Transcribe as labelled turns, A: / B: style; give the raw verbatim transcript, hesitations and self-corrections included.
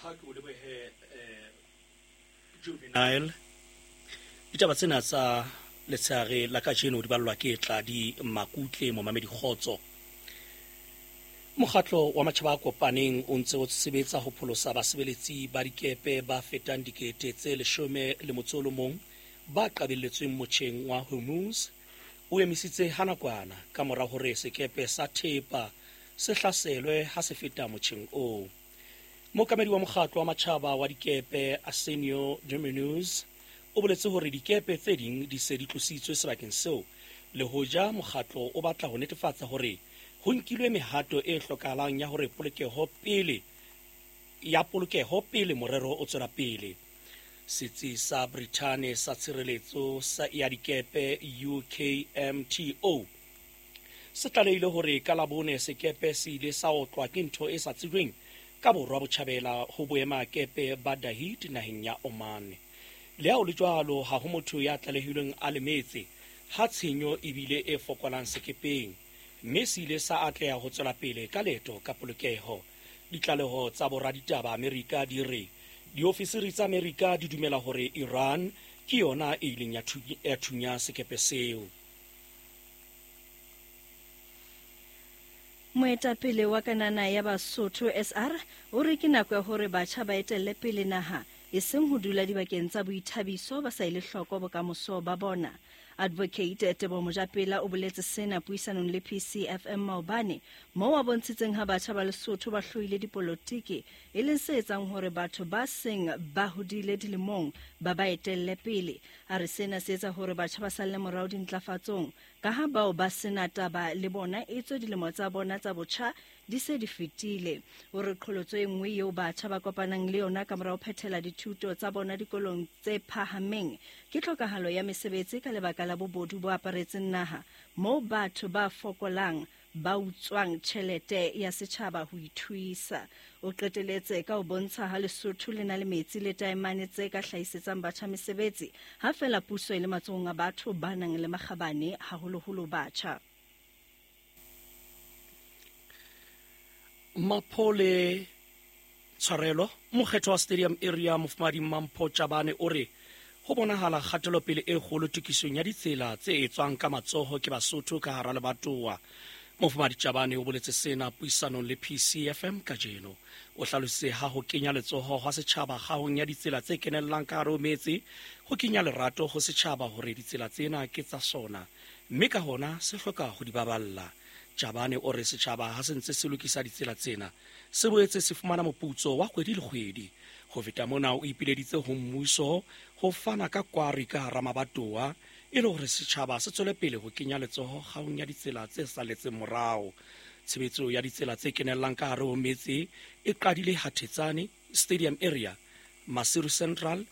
A: Ha ke o lebohe eh, Juvenile. Ditaba tsena tsa letshehare la kajeno di ballwa ke Tladi Makutle. Momamedi, kgotso. Mokgatlo wa Matjhaba a Kopaneng o ntse o sebetsa ho pholosa basebeletsi ba dikepe ba fetang dikete tse leshome le motso o le mong ba qabelletsweng motjheng wa Hormuz o emisitse ha nakwana ka mora hore sekepe sa thepa se hlaselwe ha se feta motjheng oo. Mookamedi wa Mokgatlo wa Matjhaba wa Dikepe, Arsenio Dominguez, o boletse hore dikepe tse ding di se di tlositswe sebakeng seo, le hoja mokgatlo o batla ho netefatsa hore ho nkilwe mehato e hlokahalang ya hore polokeho pele ya polokeho pele morero o tswela pele. Setsi sa Brithane sa tshireletso sa ya dikepe, U K M T O, se tlalehile hore ka Labone sekepe se ile sa otlwa ke ntho e sa tsejweng ka borwa botjhabela ho boemakepe ba Dahid naheng ya Oman. Le ha ho le jwalo, ha ho motho ya tlalehilweng a lemetse ha tshenyo ebile e fokolang sekepeng, mme se ile sa atleha ho tswela pele ka leeto ka polokeho. Ditlaleho tsa boraditaba Amerika di re diofisiri tsa Amerika di dumela hore Iran ke yona e ileng ya thunya sekepe seo.
B: Moetapele wa Kanana ya Basotho S R o re ke nako ya hore batjha ba etelle pele naha, eseng ho dula dibakeng tsa boithabiso ba sa ele hloko bokamoso ba bona. Advocate Tebo Mojapela o boletse sena puisanong le P C F M maobane, moo a bontshitseng ha batjha ba Lesotho ba hloile dipolotiki, e leng se etsang hore batho ba seng ba hodile dilemong ba ba etelle pele. A re sena se etsa hore batjha ba salle morao dintlafatsong, ka ha bao ba sena taba le bona etswe dilemo tsa bona tsa botjha di se di fetile. O re qholotso e nngwe eo batjha ba kopanang le yona ka mora ho phethela dithuto tsa bona dikolong tse phahameng ke tlhokahalo ya mesebetsi ka lebaka la bobodu bo aparetseng naha, moo batho ba fokolang ba utswang tjhelete ya setjhaba ho ithuisa. O qeteletse ka ho bontsha ha Lesotho le na le metsi le taemane tse ka hlahisetsang batjha mesebetsi, ha fela puso e le matsohong a batho ba nang le makgabane, haholoholo batjha.
A: Maphole, tshwarelo. Mokgetho wa Stadium Area, Mofumadi Mampho Tjabane, o re ho bonahala kgatelopele e kgolo tokisong ya ditsela tse etswang ka matsoho ke Basotho ka hara lebatowa. Mofumadi Tjabane o boletse sena puisanong le P C F M kajeno. O hlalositse ha ho kenya letsoho hwa setjhaba kgahong ya ditsela tse kenellang ka hare ho metse ho kenya lerato ho setjhaba hore ditsela tsena ke tsa sona, mme ka hona se hloka ho di baballa. Tjabane o re setjhaba ha se ntse se lokisa ditsela tsena se boetse se fumana moputso wa kgwedi le kgwedi. Ho feta mona, o ipileditse ho mmuso ho fana ka kwari ka hara mabatowa e le hore setjhaba se tswele pele ho kenya letsoho kgahong ya ditsela tse saletseng morao. Tshebetso ya ditsela tse kenellang ka hare ho metse e qadile Hathetsane, Stadium Area, Maseru Central.